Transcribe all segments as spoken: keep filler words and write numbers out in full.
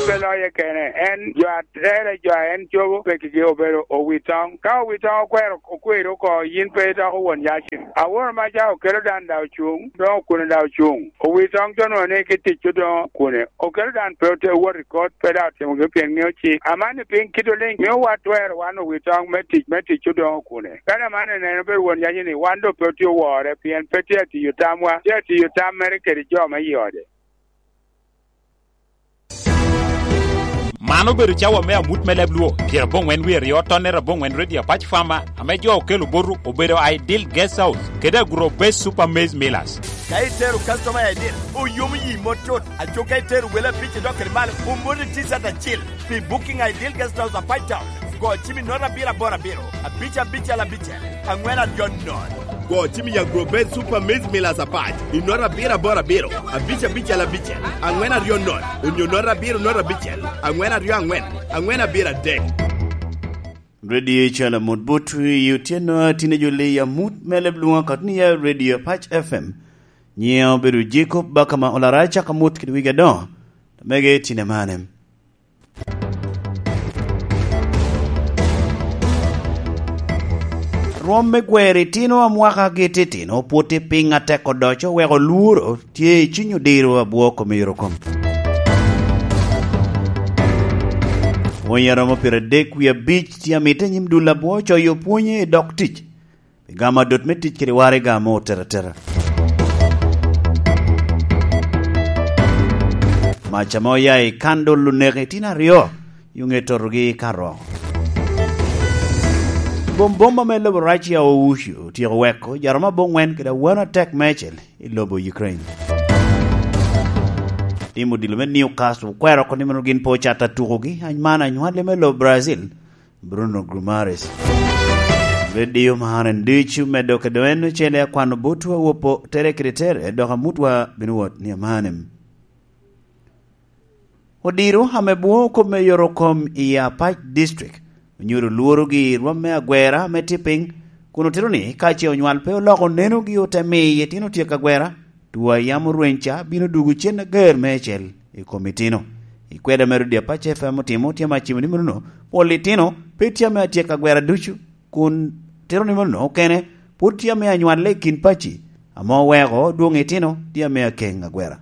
Pe loye kene, en jo a tere, jo a en cobo pekigi obedo owitoŋ. Ka owitoŋ okwero, okwero oko, yin pe idoko won yacin. Aworo maca okelo dan da ocuŋ, doŋ okune da ocuŋ. Owitoŋ to nwoŋo ni ki tic odoŋo kune. Okelo dan pe ote wot i kot, pe da otimo gi pien ŋeo cik. Aman i piny kit oliŋ, mio wa twero wan owitoŋ me tic, me tic odoŋo kune. Kadi aman eneno pe won yaci ni wan doŋ pe otye owore, pien pe tye atiyo tamwa, tye atiyo tam mere kede jo me i ode. Man obedo cawa me amut me leb Luo, pyerabongwen wie aryo, tonnere abongwen, Radio Apac Farmer, ame jo okelo botu obedo Ideal Guest House kede Agro Base Super Maize Millers. Ka itero customer I D, oyomo yi mot tut. Aco ka itero wele abic idok kede malo, omoti T-shirt acil. Pi booking Ideal Guest House Apac Town, go cim i nota abiro aboro abiro, abic abicel abicel, angwen aryo nono. Go cim i Agro Base Super Maize Millers Apac i nota abiro aboro abiro, abic abicel abicel, angwen aryo nono, onyo nota abiro nota abicel, angwen aryo angwen, angwen abiro adek. Radio Chala Mut But i otyeno a tine jo leyi amut me leb Luŋa Katunia, Radio Apac F M. Nyiŋa obedo Jacob Bakama Olara, cako amut kede wigi adoŋo, mege tine mane. Rwom me gwero itino a mwakagi titino pwod tye piny atek odoco, weko lworo tye i cuny odiro abwo kom i yorokom. Pwony a romo pyeradek wie abic tye amito i nyim dul abwo coyo pwonye i dok tic, pi gamo adot me tic kede waraga ame oteratera. Mac ame oya i kandol oneko itino aryo, yo ŋe totogi ka ro. Bombom ame lobo Russia ouco otyeko weko jo aromo abongwen kede awano atek meicel i lobo Ukraine. Tim odilo me Newcastle okwero oko ni meno gin pe ocato atukogi, anyman anywalli me lobo Brazil, Bruno Guimarães. Radio Mahan en ducu me dok i doŋ en ocele akwano botwa wopo tere kede tere, dok amutwa bino wot ni amanem. Odiro ame bwoŋo kop me yorokom i Apac District onyuto lworogi i rwom me agwera ame tye piny, kun otito ni ka ce onywal pe oloko nenogi ote miyo itino tyeko agwera, two a yam orweny ca bino dwogo cen ager meicel i kom itino. I kweda mere odi Apac F M otimo tye ame acimo ni menono, pol itino pe tye ame atyeko agwera ducu, kun tito ni menono okene pwod tye ame anywalle i kin paci, ame oweko dwoŋ itino tye ame akeŋ agwera.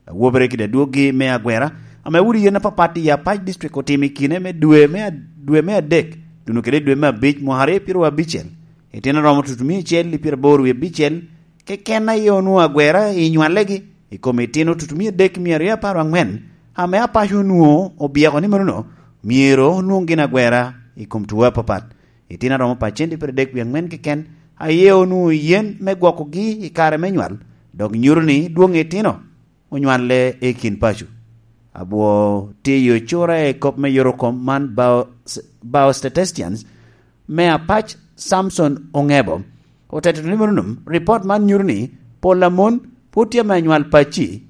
Awobere kede adwoggi me agwera, ame udi yen apapat i Apac District otimo i kine me dwe me ad-, dwe me adek, tuno kede dwe me abic, mwaka aryo pyeraryo abicel. Itino romo tutumia acel i pyeraboro wie abicel keken aye onwoŋo agwera i nywallegi, i kom itino tutumia adek mia aryo apar angwen, ame apaco onwoŋo obyeko ni menono myero onwoŋ gin agwera i kom tuo apapat. Itino aromo pacenti pyeradek wie angwen keken aye onwoŋo yen me gwokogi i kare me nywal, dok nyuto ni dwoŋ itino onywalle i kin paco. Abwo tye i ocura i kop me yorokom man, Bio-, Biostatisticians me Apac, Samson Ongebo, oteto ni menonom, ripot man nyuto ni pol a mon pwod tye ame anywal pacci,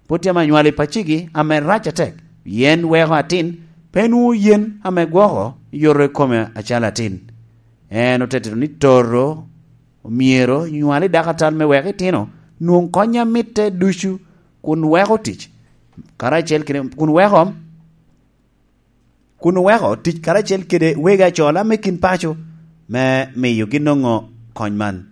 pwod tye ame anywal i paccigi ame rac atek, pien weko atin pe nwoŋo yen ame gwoko yoto i kome acalo atin. En oteto ni toto myero nywal i dako atal me weko itino nwoŋ kony a mitte ducu, kun weko tic karacel kede, kun weko, kun weko tic karacel kede wegi acola me kin paco me miyogi nongo kony man.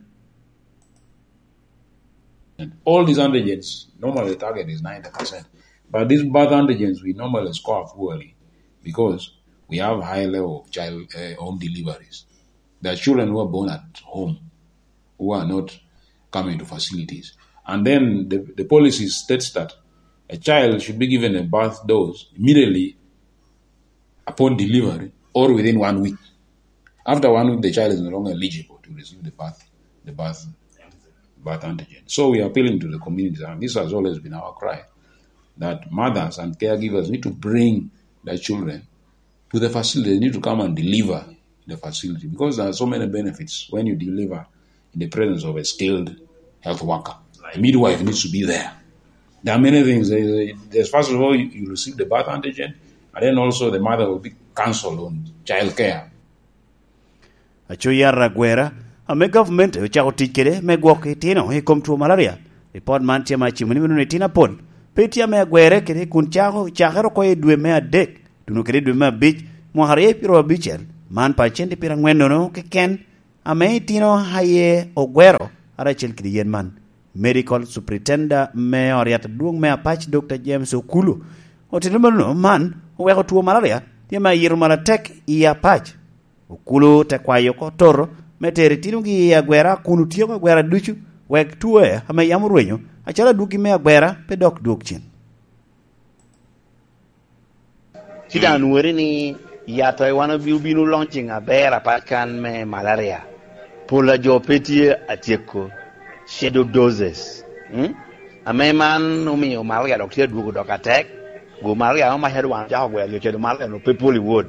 And all these antigens, normally the target is ninety percent. But these birth antigens, we normally score poorly because we have high level of child, uh, home deliveries. There are children who are born at home who are not coming to facilities. And then the, the policy states that a child should be given a birth dose immediately upon delivery or within one week. After one week, the child is no longer eligible to receive the birth, the birth, birth antigen. So we are appealing to the community, and this has always been our cry, that mothers and caregivers need to bring their children to the facility. They need to come and deliver in the facility because there are so many benefits when you deliver in the presence of a skilled health worker. A midwife needs to be there. There are many things. There is, first of all, you, you receive the birth antigen, and then also the mother will be counseled on child care. Aco yat agwera ame gavumenti ocako tic kede me gwoko itino i kom two malaria. Ripot man tye ma acimo ni meno ni itino apol Pe tye ame agwere kede kun cako, cakere oko i dwe me adek, tuno kede i dwe me abic, mwaka aryo pyero abicel, man pa cente pyero angwen nono keken, ame itino aye ogwero karacel kede yen man. Medical Superintendent me ot yat adwoŋ me Apac, Dokta James Okulu, otito mano man oweko two malaria tye ame ayito malo atek i Apac. Okulu te kwayo oko toro me tero itinogi i agwera kun otyeko agwera ducu, wek two ame yam orwenyo, acalo adwogi me agwera, pe dok dwog cen. Ci daŋ nwori ni yat a wan obi-, obino launching aber apat kan me malaria. Pol a jo pe tye atyeko shadow doses. Mm? Ame man omio malaria dok tye adwogo dok atek. Go malaria amo mac adwan cako gwero jo kede malaria no pe pol i wod.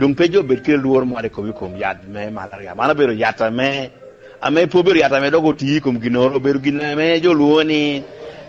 Doŋ pe jo bed kede lworo moro i kom, i kom yat me malaria. Man obedo yat ame, ame pe obedo yat ame dok oti i kom ginnoro, obedo gin ame jo lwongo ni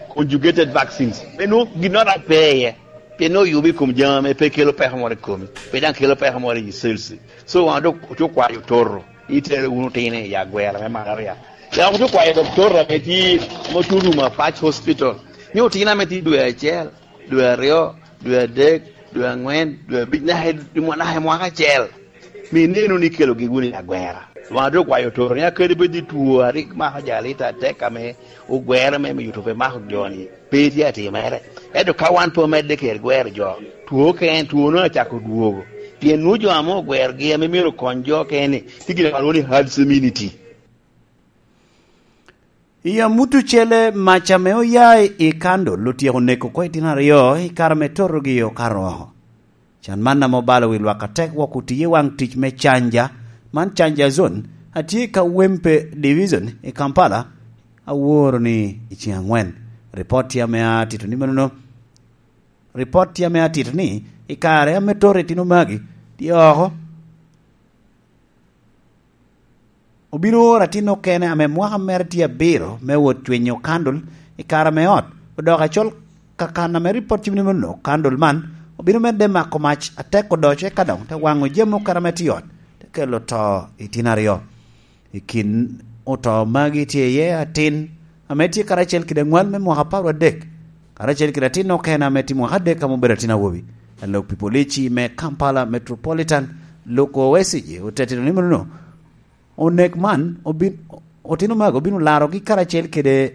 conjugated vaccines. Me nwoŋo ginnoro pe iye. Pien nwoŋo oyubo i kom jami ame pe kelo peko moro i komi, pe daŋ kelo peko moro i cells. So, wan dok ocu kwayo ototo, itere wunu otino i agwera me malaria. Dok ocu kwayo doktor ame tye, ame otuno ma Patch Hospital, ni otino ame tye dwe acel, dwe aryo, dwe adek, dwe angwen, dwe abic, naka i, naka i mwaka acel, mi inenu ni ikelogi wunu i agwera. Wan dok okwayo ototo ni akadi bed i two a rik mako jo alita atek ame ogwero me miyo two pe mako jo-ni, pe tye atimere. Ento ka wan pe omedde kede gwero jo, two okene, two-nu acako dwogo. Pien nwoŋo jo ame ogwerogi ame myero okony jo okene, tye gin ame lwongo ni herd immunity. I amut ocele, mac ame oya i kandol otyeko neko oko itino aryo i kare ame totogi okato oko. Can man ame obalo wi lwak atek wok otiye i waŋ tic me canja, man canja zone, a tye i Kawempe Division i Kampala, aworo ni i ceŋ angwen. Ripot tye ame atito ni manono, ripot tye ame atito ni i kare ame toto itino magi tye oko, obino oro atin okene ame mwaka mere tye abiro me wot cwinyo kandol i kare ame ot odoko acol. Kakan ame ripot cim ni mano, kandol man obino medde mako mac atek odoco, eka doŋ te waŋo jami okene ame tye i ot, te kelo to i tin aryo. I kin oto magi tye iye atin ame tye karacel kede aŋwal me mwaka apar adek, karacel kede atin okene ame tye mwaka adek ame obedo atin awobi. Alok pi polici me Kampala Metropolitan, Luke Owesigye, otetino ni mano, onek man obin-, otino magi obino larogi karacel kede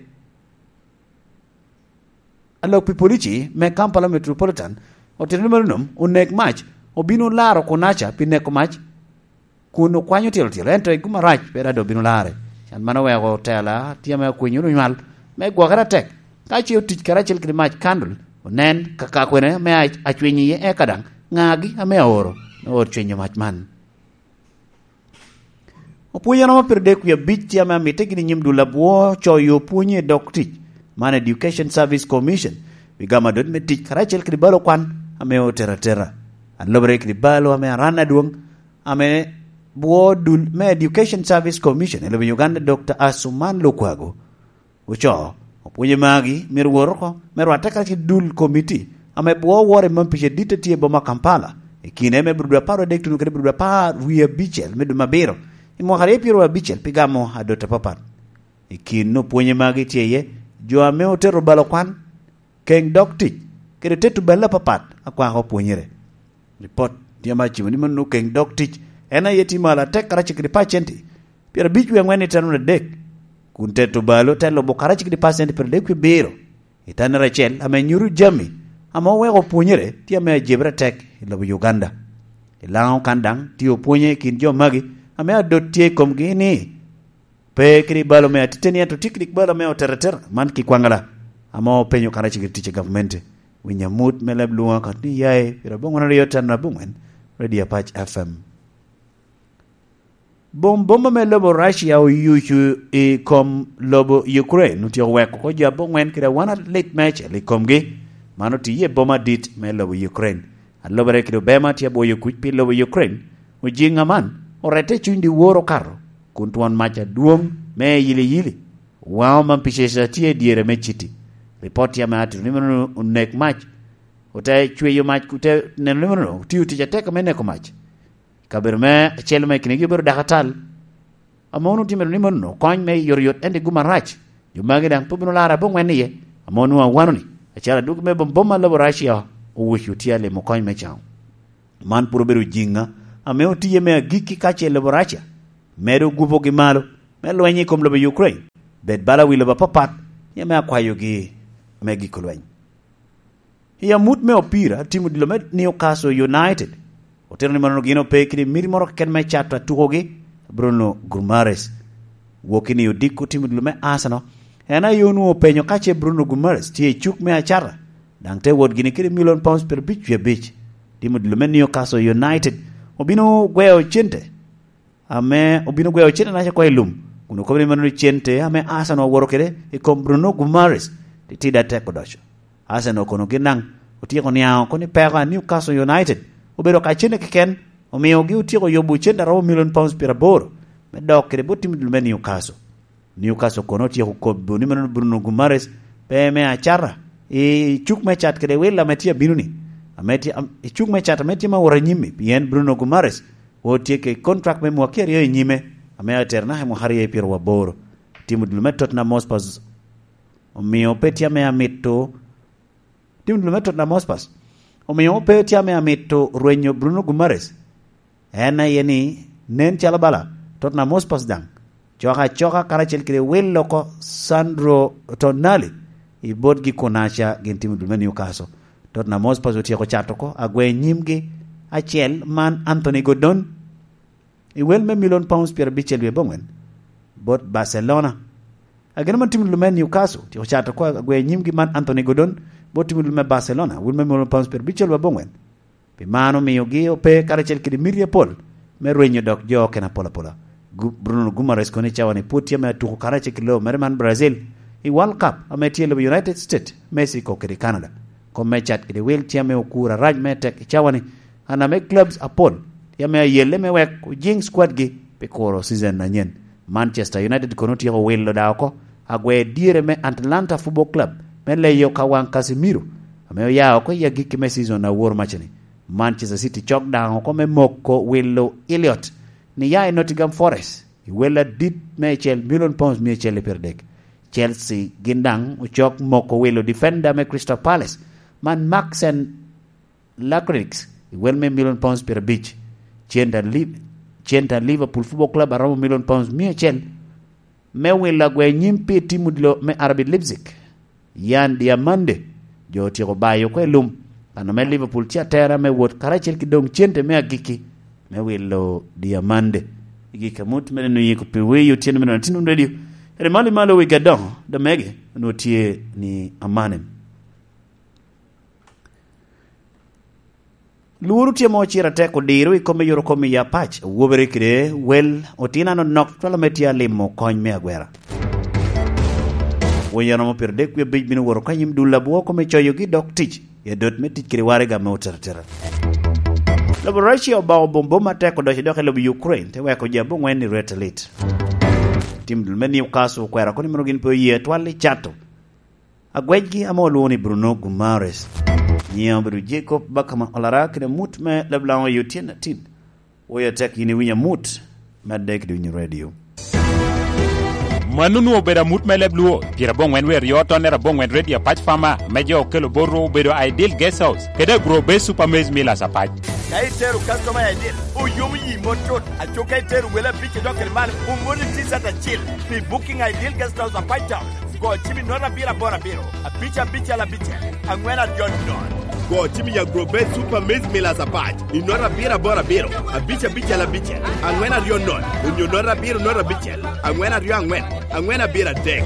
alok pi polici me Kampala Metropolitan, otito ni mano, onek mac obino laro kunaca pi neko mac kun okwanyo tilo tilo, ento i gum arac pe dado obino lare. Can man oweko tela tye ame okwinyo onywal me gwokere atek, ka ce otic karacel kede mac kandol, onen ka ka kwene ame a-, acwiny iye, eka daŋ ŋagi ame aoro me oro cwinyo mac man. Opwony a romo pyeradek wie abic tye ame amitte gini i nyim dul abwo coyo opwonye i dog tic, man Education Service Commission, pi gamo adot me tic karacel kede balo kwan ame otero atera. Alobere kede balo ame aran adwoŋ ame bwo dul me Education Service Commission i lobo Uganda, Dokta Asuman Lukwago, ocoo, opwonye magi myero wot oko me rwatte karacel dul komiti ame bwo woro i mampic adit a tye i boma Kampala i kine me bro dwe apar adek tuno kede bro dwe apar wie abicel me dwe me abiro i mwaka aryo pyero abicel pi gamo adot apapat. I kin opwonye magi tye iye jo ame otero balo kwan, keŋ dog tic, kede teto bal apapat a kwako opwonyere. Ripot tye ame acimo ni mano keŋ dog tic en aye tye malo atek karacel kede pacenti pyerabic wie aŋwen i teno adek, kun teto balo te lubo karacel kede pacenti pyeradek wie abiro i tennere acel, ame nyuto jami ame oweko opwonyere tye ame ajebere atek i lobo Uganda. I Laŋo kan daŋ tye opwonye i kin jo magi ame adot tye i komgi ni, pe kede balo me atiteni, ento tye kede balo me oteretera man ki kwaŋala, ame openyo karacel kede tic a gavumenti. Winy amut me leb lwoŋo akot ni yaye pyeraboŋwen aryo teno aboŋwen, Radio Apac F M. Bom boma me lobo Russia oyucu i kom lobo Ukraine otyeko weko oko jo aboŋwen kede awan alit meicel i komgi. Man otiye i boma adit me lobo Ukraine. Alobere kede obema tye abwoyo kuc pi lobo Ukraine. Ojiŋ aman orette i cuny dyewor okato, kun twon mac adwoŋ me yiliyili waŋo man pi ceca tye i dyere me citi. Ripot tye ame atito ni meno onek mac, ote cweyo mac, ote neno ni meno otio tic atek me neko mac. Kabedo me acel me kinegi obedo dako atal, ame onwoŋo tye mito ni mano kony me yotyot, ento i gum arac, jo magi daŋ pe obino laro aboŋwen iye, ame onwoŋo awano-ni Acara duk me bom boma lobo Russia owic otye alimo kony me caŋo. Man pwod obedo jiŋa ame otiye me agikki ka ce lobo Russia medo gubogi malo me lweny i kom lobo Ukraine, bed bala wi lobo apapat, ni ame akwayogi me giko lweny. I amut me opira, tim odilo me Newcastle United otito ni manono gin ope kede miti moro keken me cato atukogi, Bruno Guimaraes. Wokki ni odiko tim odilo me Arsenal, en aye onwoŋo openyo ka ce Bruno Guimaraes tye i cuk me acata, daŋ te wot gini kede milion pounds pyerabic wie abic. Tim odilo me Newcastle United obino gweo cente ame obino gweo cente naca oko i lum, kun okobo ni mano cente ame Arsenal owoto kede i kom Bruno Guimaraes titidi atek odoco. Arsenal kono gin daŋ otyeko niaŋ oko ni peko a Newcastle United obedo ka cente keken, omiogi otyeko yubo cente aromo milion pounds pyeraboro me dok kede bot tim dul me Newcastle. Newcastle kono otyeko kobo ni mano Bruno Guimaraes pe me acata i cuk me cat kede wil ame tye abino-ni, ame tye, am-, i cuk me cat ame tye ma wot anyim-mi, pien Bruno Guimaraes otye kede contract me mwaki aryo i nyime, ame atero naka i mwaka aryo i pyeraboro. Tim odilo me Tottenham Hotspur omio pe tye ame amito, tim odilo me Tottenham Hotspur omio pe tye ame amito rwenyo Bruno Guimaraes. En aye ni, nen calo bala Tottenham Hotspur daŋ cok acoka karacel kede wilo oko Sandro Tonali i botgi kun aca gin tim odilo me Newcastle. Tottenham Hotspur otyeko cato oko agwe nyimgi acel man Anthony Gordon i wel me milion pounds pyerabicel wie abongwen bot Barcelona. Ageno man tim odilo me Newcastle otyeko cato oko agwe nyimgi man Anthony Gordon bot tim odilo me Barcelona, wel me milion pounds pyerabicel wie abongwen. Pi man omiogi ope karacel kede miti apol me rwenyo dok jo okene apol apola. Gu-, Bruno Guimaraes kono i cawa-ni pwod tye ame atuko karacel kede lobo mere man Brazil i World Cup ame tye i lobo United States, Mexico kede Canada. Kom me cat kede wil tye ame okuro arac me tek i cawa-ni, an ame clubs apol tye ame ayelle me wek ojiŋ squad-gi pi kuro season anyen. Manchester United kono otyeko wilo da oko agwe dyere me Atlanta Football Club me leyo ka waŋ Casemiro, ame oya oko i agikki me season a woro macani. Manchester City cok daŋ oko me moko wilo Elliot ni ya i Nottingham Forest i wel adit me acel, million pounds mia acel i pyeradek. Chelsea gin daŋ ocok moko wilo defender me Crystal Palace man Maxen Lakrix i wel me million pounds pyerabic. Center Liv-, center Liverpool Football Club aromo million pounds mia acel me wilo agwe nyim pi tim odilo me R B Leipzig. Yan Diamande, jo otyeko bayo oko i lum, kan ame Liverpool tye atera me wot karacel ki doŋ cente me agikki me wilo Diamande. I gik amut me neno yiko pi wi otyeno me nino Tinum Radio, eri malo i malo wi gadoŋo, Damege, onwoŋo tye ni amanem. Lworo tye mo ciro atek odiro i kome yoro kome i apac, wobere kede wel otinano nok twalo me tye alimo kony me agwera. Wonyo romo pire dek wie abic bino woro ka nyim dul abwo kome coyogi dok tic i adot me tic kede waraga me oteratera. Lobo Russia obako bombom atek odoco dok i lobo Ukraine, te weko ji abongwen i rwet alit. Tim dul me Newcastle okwero kono mono gin pe oye twal i cato agwecgi ame olwoŋo ni Bruno Guimaraes. Nyiŋe obedo Jacob Bakama Olara kede amut me Lablaŋo Yotien Atin. Woyo tek yin iwinyo amut, medde kede winyo radio. Mano onwoŋo obedo amut me leb Luo, pyerabongwen wer yo tonnere abongwen radio apac Fama, me jo okelo bot Rwo obedo Ideal Guest House, kede Agro Base Super Maize Millers apac. Ka itero customer i Ideal, oyomo yi mot cut, aco ka itero wele abic idok kede malo, omoni T-shirt acil, pi booking Ideal Guest House apac Town. Go cim i note abiro aboro abiro, abic abicel abicel, angwen aryo nono. Go cim i Agro Base Super Maize Millers apac i note abiro aboro abiro, abic abicel abicel, angwen aryo nono, onyo note abiro note abicel, angwen aryo angwen, angwen abiro adek.